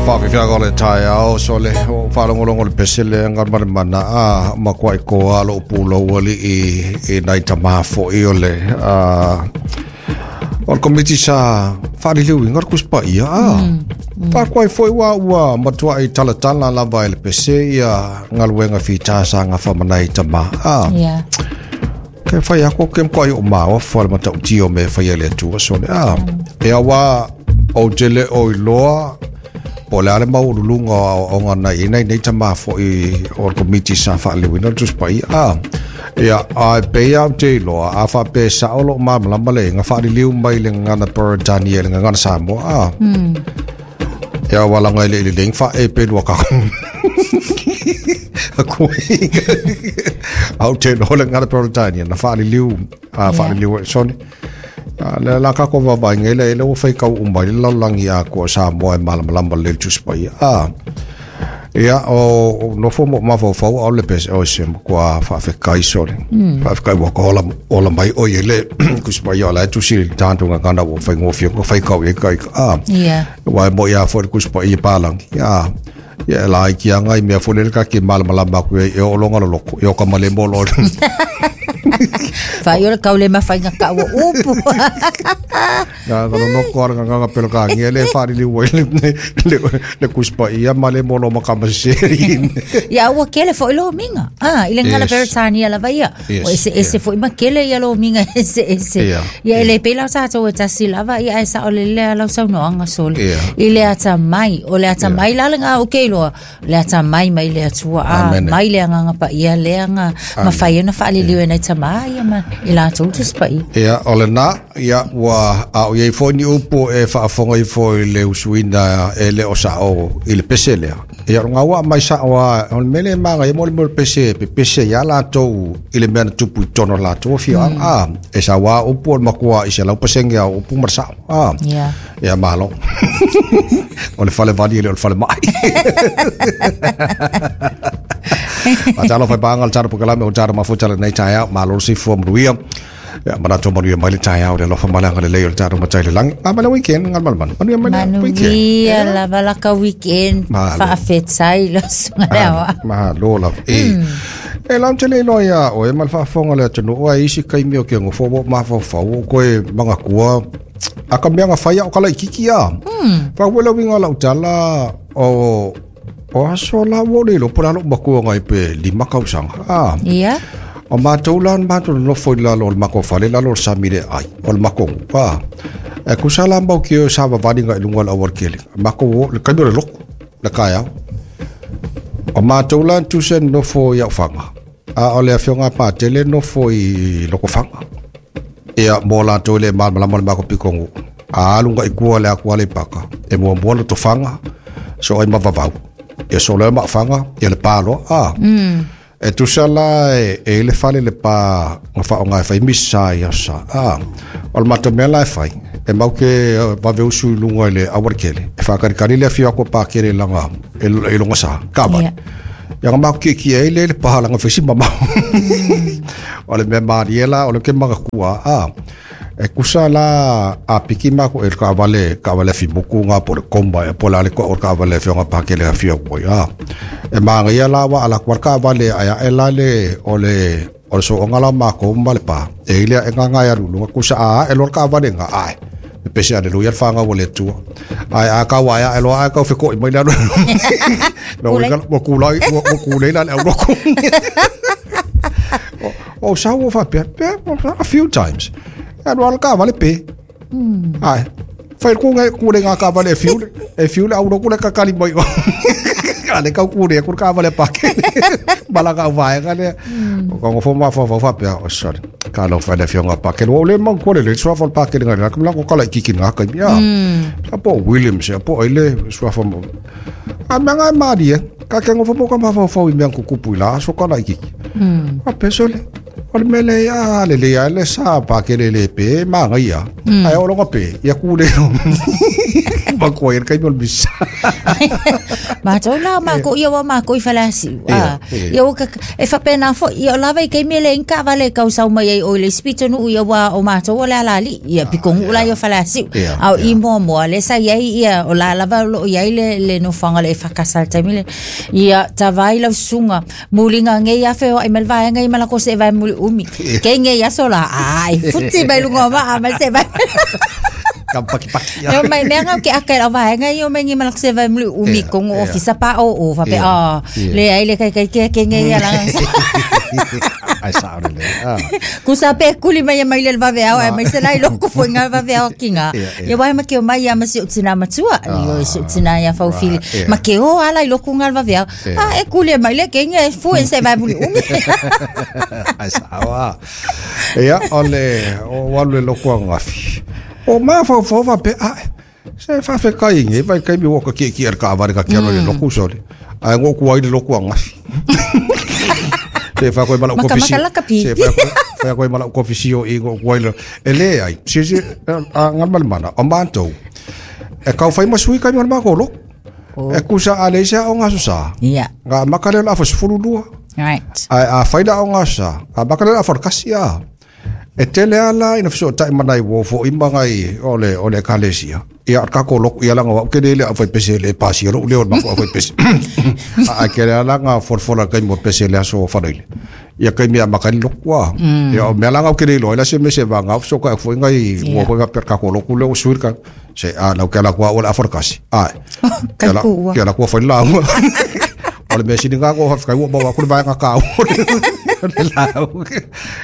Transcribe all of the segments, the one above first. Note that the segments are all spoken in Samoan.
Faafefiaga o le taeao sole o faalogologo le pese lea galumalemana a makuaʻi toa loʻu pulou aliʻi i nai tamā foʻi o le o le komiti sa faaliliuina le Tusi Paia a faakuai foi ua ua matuaʻi talatala lava e le pese ia galuega fitā sa gafa ma nai tamā a Ke fai aku ke mkoai o maofa le matautia o mea e faia e le Atua sole a. E auā ou te le o iloa po o le a le maualuluga o aoaoga na i ai nei tamā foʻi o le komiti sa faaliliuina le Tusi Paia a. Ia, a e pei lava ou te iloa, a faapea e sao lou malamalama le iga faaliliu mai le gagana Peretania i le gagana Samoa a. Ia ua laga i le lelei fa e pe lua ka. Aku au te no le ngana Peretania na faaliliu a faaliliu e sone. A le la ka ko vava ngai le le o fai kau umai le lalolagi a ko Samoa e malamalama le Tusi Paia. A Ia, o nofo mo mafaufau ao le pese o se kua faafekai sole. Faafekai ua ka ola, ola mai o i le kusi mai o la tusi le tāntu ngā ngana ua whai ngōwhia ko whai kau e kai. Ah, Wa e mo ia fo le kusi pa i pālangi. Ia, ia e la i ki anga i mea fo le ka ki malamalama aku e o longa lo loko. E o ka male mo lo. Whai o le kau le mawhainga ka ua upu. Nga ka loko ara nga nga pelo ka ngia le whaarili ua le le le kuspa ia ma le molo ma kama seri. Ia ua kele foi lo minga. Ah, ile ngana Peretania lava ia. O ese ese foi ma kele ia lo minga ese ese. Ia ele pela sa to e tasi lava ia e sa o le le lau sau no anga sole. I le ata mai, o le ata mai la nga o ke loa. Le atamai mai le Atua, a mai le Agaga Paia lea na mafai ai ona faaliliu e nai tamā ia ma i latou Tusi Paia. Ia, o lena, ia, ua a o i ai foi ni upu e faafofoga ifo i le usuina e le o sao i le pese lea. Ia, o lona ua aumai sao lava, o le mea lea e magaia mo le mea o le pese e pepese ai lava latou i le mea na tupu i totonu o le latou afioaga. A, e sau lava upu o le matua i 100% lava o upu ma le sao. A, Ia malo. O le fale vali e le o le fale mai. A talo fai pānga le taro pokalame o taro mafuta le nei taeao, malo le soifua manuia. Ia, manatu manuia mai le taeao le alofa ma le agalelei o le tatou Matai i le lagi. Ngā mai le weekend, ngā malmanu. Manuia mai le weekend. Manuia lava la ka weekend. Malo. Faafetai lo susuga le aoao. Malo lava. E, e lau te le iloa iā oe ma le faafofoga a le atunuu ae isi taimi o ke nofo ua ou mafaufau o koe magatua A ka mea na fai au ka laititi a. Fa ua le uiga o lau tala o o aso la ua le iloa po o le a lou matua nai pe 5 tausaga. A. Ia. O matou la na matou nonofo i lalo o le matou fale i lalo o le sami le ai o le matou nuu. A. E tusa la mau ke savavali agai i luga o le aualatele. Matou o le taimi o le lotu le taeao. O matou la na tusa nonofo i Aufaga. A o le afioga a Patele nofo i Lotofaga. Ia, mo latou e le malamalama o le matou pitonuu, a alu agai i tua le atu Aleipata, e muamua Lotofaga, soo ai ma Vavau. Ia soo loa ma Ofaga, ia Lepa loa. A, e tusa la e i ai le fale i Lepa na faaaoga e fai misa i aso sa. A, o le matou mea la e fai, e mau ke vave usu i luga i le aualatele, e faatalitali le afio atu a Pakele i lana, i lona sa, taavale. Ia na matou kiekie ai lea i le pa leaga fai si mamao. O le mea malie la, o lea ou te manatua, a, e tusa la a piki matou i le taavale, taavale afi motu na po o le Comba ea po o le a le toa o le taavale a le afioga a Pakele e afio atu ai, a. E manaia la aua a alu atu lava le taavale ae ae la le, o le, o le sooga la o matou ma le pa, e i ai le aega na e alu i luga, tusa a ae loa le taavale na, ae, pepese aleluia le fanau a le Atua. Ae a tau ae ae loa ae tau fetoʻi mai le alu. Ua kulai, ua kulei la le aulotu. O sau ua faapea, a few times. E alu lava le taavale pe. Ae, fai le kū kūlei ngā taavale e fiu le, e fiu le aulotu le kakali mai. A le tau kūlei atu le taavale a Pakele. Ma lana auvaega lea. O ka nofo mafaufau faapea, oh sorry. Ka alofa i le afioga a Pakele. Ua ou le manatua lelei le suafa o le Pakele nai le atu lako kala itiiti i lena taimi. A, sa po o Williams ea po o ai le suafa mo. A mea na e malie, ka ke nofo mo ka mafaufau i mea na tutupu i la aso kala itiiti. Faapea sole, o le mea lea, a lelei lava le sa Pakele e le pe, manaia. Ae oo loa ina pe, ia kūlei loa. Ma ko ia kai mo bisa. Mātou la mākou ia wa mākou i Faleasiu. Ah, ia ua ka e faapena foi ia o lava i taimi e leai ni taavale e tausau mai ai oi le isi pitonuu ia ua o matou o le ala alii ia pikonu'u la ia o Faleasiu. A o i muamua lea sa i ai ia o la lava o loo i ai le le nofoaga o le EFKS i le taimi lea. Ia tavai lau susuga muliga nei afe oai mai le vaega ia ma latou seevae muliumi. Kei nei aso la ai futi mai luga o vaa ma le seevae. Ka pakipaki. E o mai mea ngau ke aka i lau vaega ia o mai ni ma latou seevae muliumi tonu ofisa pa o o faapea ah leai le kaikai ke ke nei ia la. Ai sa o le. Ah. Kusa pe kuli mai e mai le vaveao e mai se lai loko foi ngā vaveao ki ngā. Ia wai ma ke o mai ia ma si o tina matua. Io si o tina ia faufili. Ma ke o ala i loko ngā vaveao. Ah, e kuli e mai le ke nge fu e se vai muli umi. Ai sa o. Ia, o le, o walu le loko a ngafi. O ma fau fau va pe a. Se fa fe kai nge vai kai mi woka ki ki ka avare ka kia le loku sole. Ai ngo ku ai le loku a ngafi. Se fa koe mala Maka kofisi. maka laka pi. Se fa koe fa koe mala kofisi o i ngo ku ai le. E le ai. Se se a ngal mal mana o mantou. E kau fai masui kai mal ma ko loko. E kusa a le se o ngaso sa. Ia. Nga makale la fa sefulu lua. Right. A a fai la o ngaso sa. A makale la fa kasi a. E tele ala ina fiso tai mana i wo fo i mangai o le o le ekalesia. Ia ka ko loko ia langa wa ke le a fai pese le pasi ro le o ma ko fai pese. A ke le ala nga forfola kai mo pese le aso whanaile. Ia kai mea makani loko a. Ia o mea langa o ke le lo ila se me se vanga so ka fo ngai wo ko ka per ka ko loko le o suir ka. Se a lau ke ala kua o le aforkasi. Ai. Kai kua. Ke ala kua fai la. O le mea sini ngā ko kai ua maua kuri vaenga ka o le lau.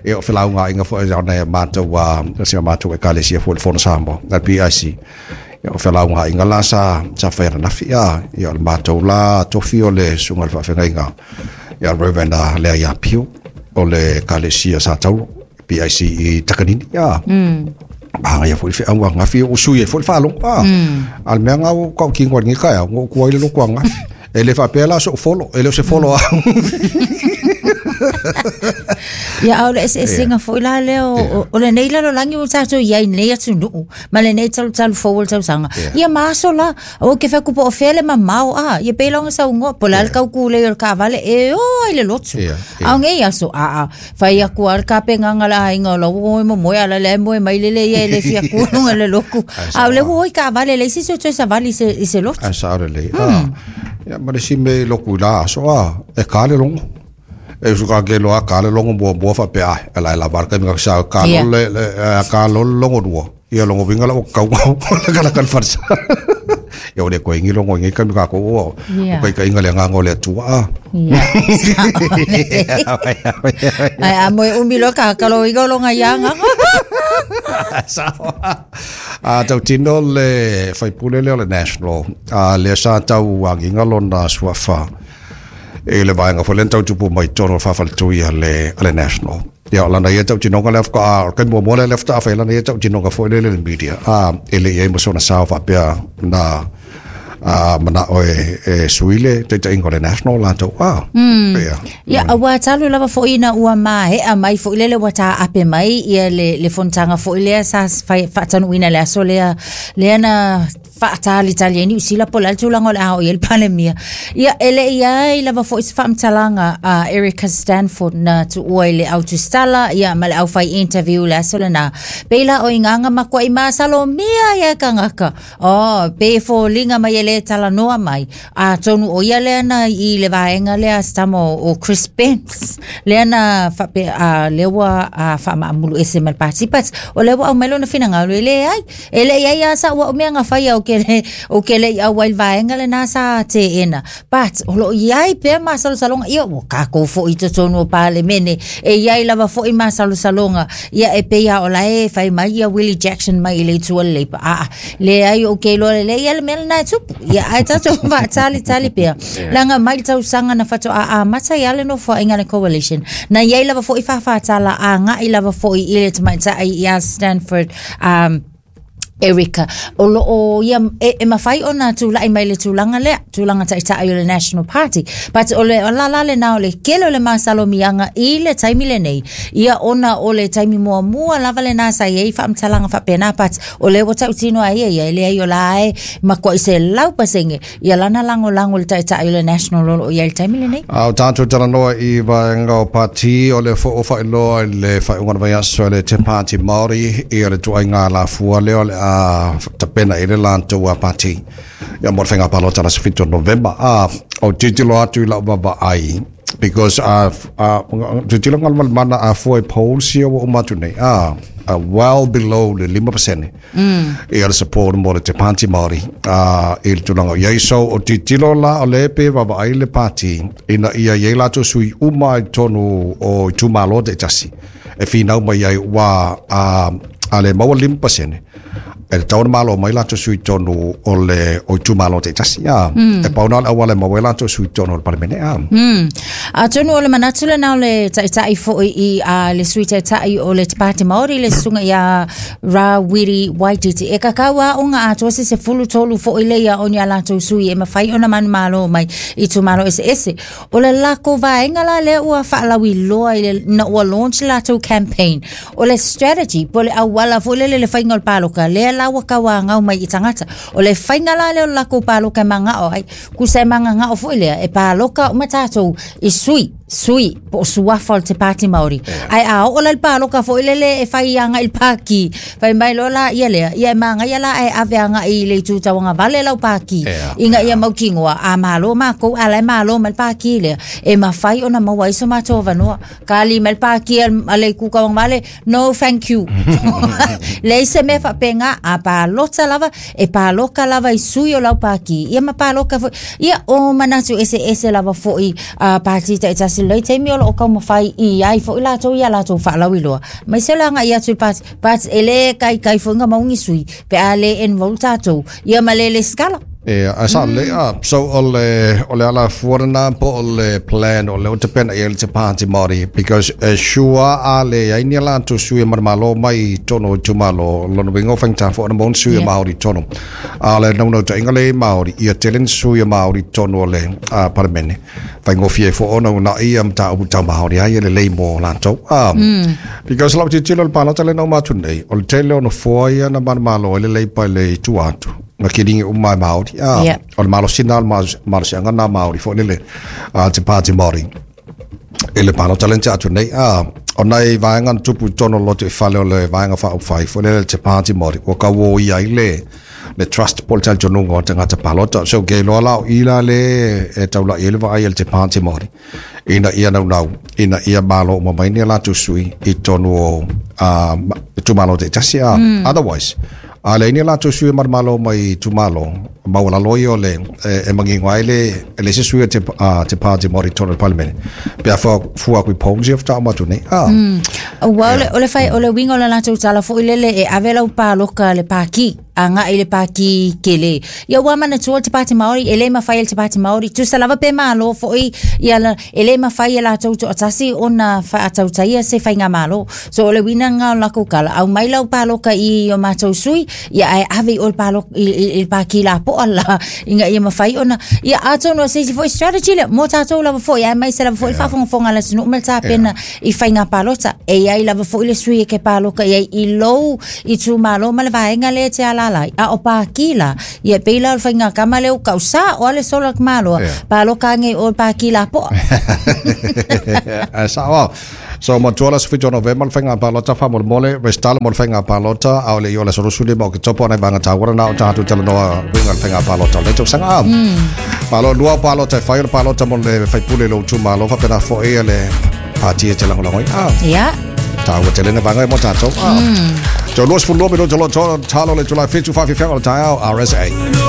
E o whilau ngā inga fo e nei mātou a se mātou e kalesia fo le fono Samoa, na PIC. E o whilau ngā inga la sa sa whaira nafi a i o le mātou la tofi o le sunga le whaawhengainga. Ia Reverend a Lea ia Pio o le kalesia sa tauro PIC i Takanini a. Mahanga ia fo i whaunga ngafi o sui e fo i whalongo a. A le mea ngā o kau ki ngā ngi kai a ngō kua i le loko a ngafi. E le whapea la so follow, e le o se follow a. Ia au le eseesega foi la lea o o lenei lalolagi ua tatou i ai nei atunuu ma lenei talutalu fou o le tausaga. Ia ma aso la, aua ke fai atu po o fea le mamao a, ia pei la ona saunoa, po o le a le taukulei o le taavale e o ai le lotu. A o nei aso, aa, fai atu lava le tapenaga a le aiga o la ua o e momoe a o la e moe mai lele ia e le fia tu i luga o le lotu. A o lea ua o i taavale e leai se isi o toe savali i se lotu. Ai sao lelei. Ia ma le isi mea i loku i la aso a, e ka le logo. E usu ka ke loa ka le logo muamua faapea ai, e la e lava le taimi ka sa ka le le ka lo le logo lua. Ia logo winga la o kau ngau la ka la ka le farsa. Ia o le koe ngi logo ngi ka mi ka ko o. O kai kai inga le nganga o le atua a. Ia. Ai a moe umi loa ka ka lo inga o longa ia nganga. Sao. A tau tino le faipule lea o le National, a lea sa tau agiga lona suafa i le vaega foi lea na tau tupu mai totonu o le faafaletui a le, a le National. Ia, o lana ia tautinoga lea faatoa, o le taimi muamua lea lea faatoa fai lana ia tautinoga foi lele i le media, a e le i ai ma sona sao faapea na a manao e, e sui le taitaiga o le National latou a. Ia. Ia, aua talu lava foi ina ua maea mai foi lele ua taape mai ia le, le fonotaga foi lea sa fai, faatanuuina i le aso lea, lea na faatalitali ai Niu Sila po o le a le tulaga o le a oo i ai le Palemia. Ia, e le i ai lava foi se faamatalaga a Erica Stanford na tuua i le au tusitala, ia, ma le au fai interview i le aso lena. Pei la o Igaga makuai masalomia ia e kangaka. Oh, pei e foliga mai e le talanoa mai. Atonu o ia lea na i le vaega lea a se tama o Chris Spence, lea na faapea, a, lea ua a, faamaamulu ese ma le Pati, but o lea ua aumai lona finagalo e leai. E le i ai lava sau au mea na faia ou ke le, ou ke le i ʻauai i le vaega lena sa teena. But, o lo o i ai pea masalosaloga, ia ua kākou foi i totonu o Palemene, e i ai lava foi masalosaloga, ia e pei lava o la e fai mai ia Willie Jackson mai i le itu o le Labour. Aa, leai ou ke iloa lelei ia le mea lena e tupu. Ia ae tatou faatalitali pea. Leaga mai le tausaga na faatoa amata ai lava le nofoaiga a le Coalition, na i ai lava foi fāfātala agai lava foi i le tamaitai ia Stanford, um, Erica, o loo ia e mafai ona tula'i mai le tulaga lea, tulaga ta'ita'i o le National Party. But o le lala lenā o le kele o le masalomiaga i le taimi lenei, ia ona o le taimi muamua lava lenā sa i ai faamatalaga faapena, but o lea ua tautino a ia ia, e leai o la e matua'i 100% ia lana lagolago i le ta'ita'i o le National o loo i ai i le taimi lenei. A o tatou talanoa i vaega o pati o le fo o faailoa i le faaiuga o le vaiaso e le Te Pāti Māori ia le tuaiga alafua lea o le a tapena i le latou a pati ia mo le faiga palota le aso 7 o Novema. A o tilotilo atu i lau vaavaai because a tilotilo Galumalemana a fua i polls ia ua uma atu nei a well below le 5% ia le support mo le Te Pāti Māori i le tulaga o i ai. So o tilotilo la o le pe vaavaai le pati ina ia i ai latou sui uma i totonu o itumalo taitasi e finau mai ai ua a le maua 5% e tatau ona malo mai latou sui i totonu o le o itumalo taitasi e pau na o le auala e maua ai latou sui i totonu o le Palemene Atonu o le manatu lenā o le ta'ita'i fo'i i a le Sui Taitai o le Te Pāti Māori le susuga iā Rawiri Waititi. E kakau a o ga atoa se 13 fo'i lea o ni a latou sui e mafai ona manumalo mai i itumalo eseese. O le lako vaega la lea ua faalauiloa i le na ua launch le latou campaign. O le strategy po o le auala foi lele le faiga o le paloka lea la ua tauagau mai i tagata. O le faiga la lea o le lakou paloka e magao ai Kusa e magagao foi lea e paloka uma tatou i sui, sui po o suafa o le Te Pāti Māori. Ae a oo la i le paloka foi lele e fai agai i le pāki, fai mai loa la ia lea, ia e magaia la ae ave agai i le itu tauagavale lau pāki ina ia mautinoa a malo makou a la e malo mai le pāki lea, e mafai ona maua ai so matou avanoa. Kali mai le pāki a le itu tauagavale, no thank you. Leai se mea faapena, a palota lava, e paloka lava i sui o lau pāki, ia ma paloka foi. Ia, o manatu eseese lava foi a pāti taitasi i lenei taimi o loo taumafai i ai foi latou ia latou faalauiloa. Aemaise o le agai atu i le pāti, but e le taitai foi ona maua ni sui pe a le enroll tatou, ia ma le lesitala. Ia, ae sa lelei, ah, so o le, o le alafua lena po o le plan o le o tapena i ai le Te Pāti Māori, because e sure a leai ni a latou sui e manumalo mai i totonu o itumalo, o lona uiga ua faigata foi ona maua ni sui e Māori i totonu. A o le naunautaiga lea i Māori, ia tele ni sui e Māori i totonu o le Palemene. Faigofie ai foi ona uunai ia mataupu tau Māori ai e lelei mo latou. Ah, because lau tilotilo i le palota lea na uma atu nei, o le tele o nofoa ia na manumalo ai le Labour i le itu atu, na kiligi uma e Māori. Ah, o le malosi na, o le malosiaga na Māori foi lele, Te Pāti Māori. I le palota lea na tea atu nei, ah, o nai vaega na tupu i totonu o le lotoifale o le Vaega Faaupufai foi lele Te Pāti Māori, ua tauoia ai le le trust po o le talitonuga o tagata palota. So ke iloa la o i la le e taula'i ai le vaai a le Te Pāti Māori ina ia naunau, ina ia malo uma mai ni a latou sui i totonu o itumalo taitasi. Otherwise, a leai ni a latou sui e manumalo mai i itumalo, maualalo ia o le e manino ai le e leai se sui a Te Pāti Māori i totonu o le Palemene pe a fua atu i polls ia faatoa uma atu nei. Ua o le whai, o le uiga o le latou tala foi lele e ave lau paloka le pāki, agai i le pāki kele. Ia ua manatua le Te Pāti Māori, e le mafai e le Te Pāti Māori, tusa lava pe malo foi, ia la, e le mafai e latou toatasi ona faatautaia se faigamalo. So o le uiga lena o le latou tala, aumai lau paloka i o matou sui, ia ae ave i o le paloka, i le pāki lapoa la, ina ia mafai ona, ia atonu o se isi foi strategy lea, mo tatou lava foi, aemaise lava foi le faafogafoga a le atunuu ma le tapena i faiga palota. E i ai lava foi le sui e ke paloka i ai i lou itumalo ma le vaega lea e te alaala ai. A o pāki la, ia e pei la o le faiga kama lea ua kau sa o ale sola ke maloa, paloka ange i o le pāki lapoa. Ae sao au. So matua le aso 7 o Novema le faiga palota faamolemole, resitala mo le faiga palota, a o le i o le aso 25 o Oketopa o nai vaega taua lena o tatou talanoa uiga i le faiga palota o lenei tausaga. Malo lua o palota e fai o le palota mo le faipule i lou itumalo faapena foi le pati e te lagolago ai. Ia. Taua tele na vaega mo tatou. So 22 minuta lo talo le itula e 7 faafiafiaga o le taeao RSA.